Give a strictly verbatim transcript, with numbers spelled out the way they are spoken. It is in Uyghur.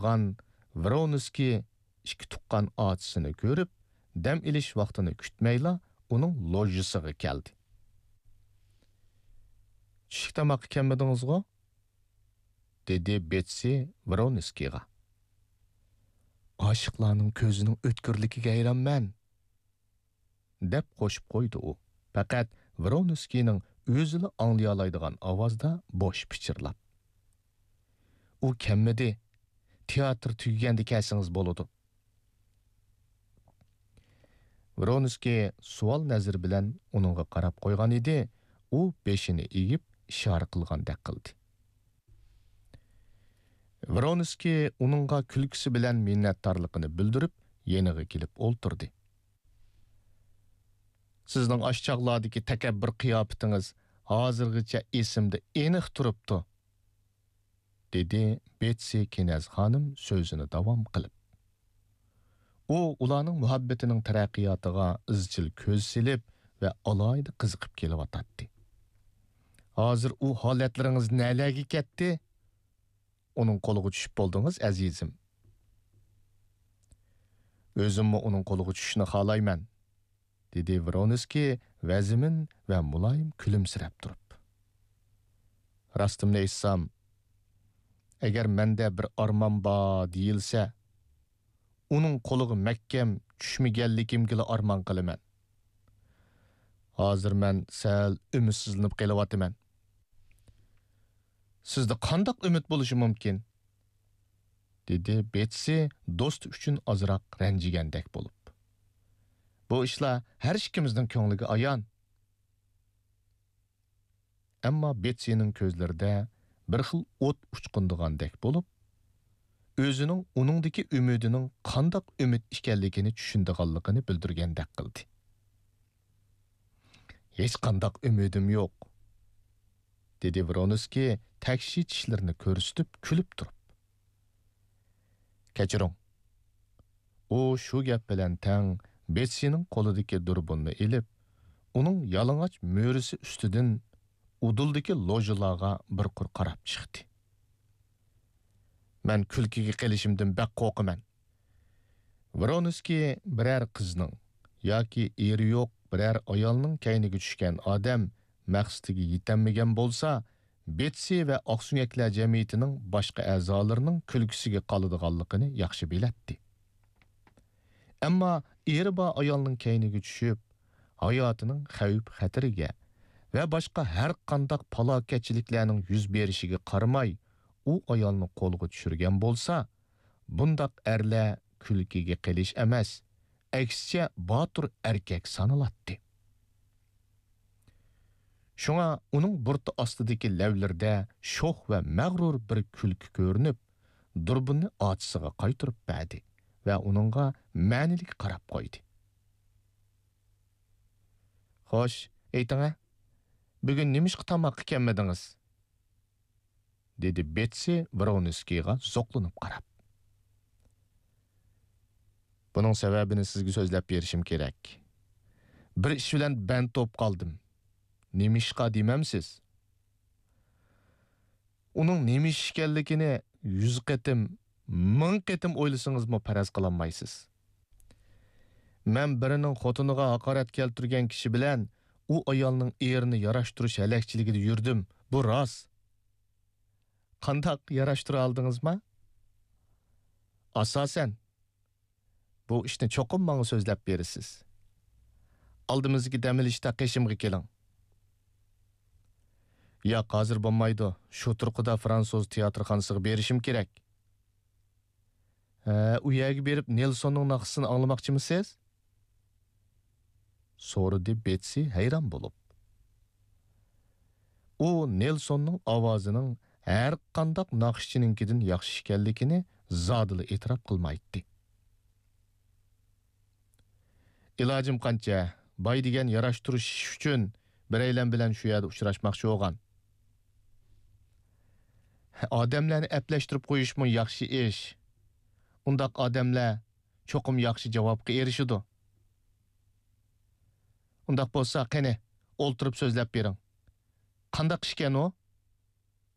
ئولتۇرغان ۋرونسكىي ئىككى تۇغقان ئاچىسىنى كۆرۈپ، دەم ئېلىش ۋاقتىنى كۈتمەيلا ئۇنىڭ لوژىسىغا كەلدى. «چۈشلۈك تاماققا كەلمىدىڭىزغۇ؟» دېدى بېتسى ۋرونسكىيغا. «ئاشىقلارنىڭ كۆزىنىڭ ئۆتكۈرلۈكىگە ھەيرانمەن.» دەپ قوشۇپ قويدى ئۇ، پەقەت ۋرونسكىينىڭ ئۆزىلا ئاڭلىيالايدىغان ئاۋازدا بوش پىچىرلاپ. «ئۇ كەممىدى، تىياتىر تۈگىگەندە كەلسىڭىز بولىدۇ.» ۋرونسكىي سوئال نەزىرى بىلەن ئۇنىڭغا قاراپ قويغان ئىدى، ئۇ بېشىنى ئېگىپ ئىشارە قىلغاندەك قىلدى. ۋرونسكىي ئۇنىڭغا كۈلكىسى بىلەن مىننەتدارلىقىنى بىلدۈرۈپ، يېنىغا كېلىپ ئولتۇردى. «سىزنىڭ ئاشۇ چاغلاردىكى تەكەببۇر قىياپىتىڭىز ھازىرغىچە ئېسىمدە ئېنىق تۇرۇپتۇ»، دېدى بېتسى كىنەز خانىم سۆزىنى داۋام قىلىپ. ئۇ ئۇلارنىڭ مۇھەببىتىنىڭ تەرەققىياتىغا ئىزچىل كۆز سېلىپ ۋە ئالاھىدە قىزىقىپ كېلىۋاتاتتى. «ھازىر ئۇ ھالەتلىرىڭىز نەلەرگە كەتتى؟ ئۇنىڭ قولىغا چۈشۈپ بولدىڭىز، ئەزىزىم.» «ئۆزۈممۇ ئۇنىڭ قولىغا چۈشۈشنى خالايمەن»، دېدى ۋرونسكىي ۋەزمىن ۋە مۇلايىم كۈلۈمسىرەپ تۇرۇپ. «راستىمنى ئېيتسام، ئەگەر مەندە بىر ئارمان بار دېيىلسە، ئۇنىڭ قولىغا مەھكەم چۈشمىگەنلىكىمگىلا ئارمان قىلىمەن. ھازىر مەن سەل ئۈمىدسىزلىنىپ قېلىۋاتىمەن.» «سىزدە قانداق ئۈمىد بولۇشى مۇمكىن؟» دېدى بېتسى دوستى ئۈچۈن ئازراق رەنجىگەندەك بولۇپ. «بۇ ئىشلار ھەر ئىككىمىزنىڭ كۆڭلىگە ئايان.» ئەمما بېتسىنىڭ كۆزلىرىدە بىر خىل ئوت ئۇچقۇندىغاندەك بولۇپ، ئۆزىنىڭ ئۇنىڭدىكى ئۈمىدىنىڭ قانداق ئۈمىد ئىكەنلىكىنى چۈشىنىدىغانلىقىنى بىلدۈرگەندەك قىلدى. «ھېچقانداق ئۈمىدىم يوق.» دېدى ۋرونسكىي تەكشى چىشلىرىنى كۆرسىتىپ كۈلۈپ تۇرۇپ. «كەچۈرۈڭ.» ئۇ شۇ گەپ بىلەن تەڭ بېتسىنىڭ قولىدىكى دۇربۇننى ئېلىپ، ئۇنىڭ يالىڭاچ مۈرىسى ئۈستىدىن ئۇدۇلدىكى لوژىلارغا بىر قۇر قاراپ چىقتى. «مەن كۈلكىگە قېلىشىمدىن بەك قورقىمەن. ۋرونسكىي بىرەر قىزنىڭ ياكى ئېرى يوق بىرەر ئايالنىڭ كەينىگە چۈشكەن ئادەم مەقسىتىگە يېتەلمىگەن بولسا، بېتسى ۋە ئاقسۆڭەكلەر جەمئىيىتىنىڭ باشقا ئەزالىرىنىڭ كۈلكىسىگە قالىدىغانلىقىنى ياخشى بىلەتتى. ئەمما ئېرى بار ئايالنىڭ كەينىگە چۈشۈپ، ھاياتىنىڭ خەۋپ-خەتىرىگە ۋە باشقا ھەر قانداق پالاكەتچىلىكلەرنىڭ يۈز بېرىشىگە قارىماي، ئۇ ئايالنى قولغا چۈشۈرگەن بولسا، بۇنداق ئەرلەر كۈلكىگە قېلىش ئەمەس، ئەكسىچە باتۇر ئەركەك سانىلاتتى. شۇڭا ئۇنىڭ بۇرۇتى ئاستىدىكى لەۋلىرىدە شوخ ۋە مەغرۇر بىر كۈلكە كۆرۈنۈپ، دۇربۇننى ئاچىسىغا قايتۇرۇپ بەردى ۋە ئۇنىڭغا مەنىلىك قاراپ قويدى. خوش، ئېيتىڭە، بۈگۈن نېمىشقا تاماققا كەلمىدىڭىز؟ دېدى بېتسى ۋرونسكىيغا زوقلىنىپ قاراپ. بۇنىڭ سەۋەبىنى سىزگە سۆزلەپ بېرىشىم كېرەك. بىر ئىش بىلەن بەند بولۇپ قالدىم. نېمىشقا دېمەمسىز؟ ئۇنىڭ نېمە ئىش ئىكەنلىكىنى يۈز قېتىم، مىڭ قېتىم ئويلىسىڭىزمۇ پەرەز قىلالمايسىز. مەن بىرىنىڭ خوتۇنىغا ھاقارەت كەلتۈرگەن كىشى بىلەن ئۇ ئايالنىڭ ئېرىنى ياراشتۇرۇش ھەلەكچىلىكىدە يۈردۈم. بۇ راست. قانداق، ياراشتۇرالدىڭىزما؟ ئاساسەن. بۇ ئىشنى چوقۇم ماڭا سۆزلەپ بېرىسىز. ئالدىمىزدىكى دەم ئېلىشتا قېشىمغا كېلىڭ. ياق، ھازىر بولمايدۇ. شۇ تۇرقىدا فرانسۇز تىياتىرخانىسىغا بېرىشىم كېرەك. ھە، ئۇ يەرگە بېرىپ نېلسوننىڭ ناخشىسىنى ئاڭلىماقچىمۇسىز؟ سورىدى بېتسى ھەيران بولۇپ. ئۇ نېلسوننىڭ ئاۋازىنىڭ ھەر قانداق ناخشىچىنىڭكىدىن ياخشى ئىكەنلىكىنى زادىلا ئېتىراپ قىلمايتتى. ئىلاجىم قانچە، باي دېگەن ياراشتۇرۇش ئىش ئۈچۈن بىرەيلەن بىلەن شۇ يەردە ئۇچراشماقچى بولغان. ئادەملەرنى ئەپلەشتۈرۈپ قويۇشمۇ ياخشى ئىش. ئۇنداق ئادەملەر چوقۇم ياخشى جاۋابقا ئېرىشىدۇ. ئۇنداق بولسا، قېنى، ئولتۇرۇپ سۆزلەپ بېرىڭ. قانداق ئىشكەن ئۇ؟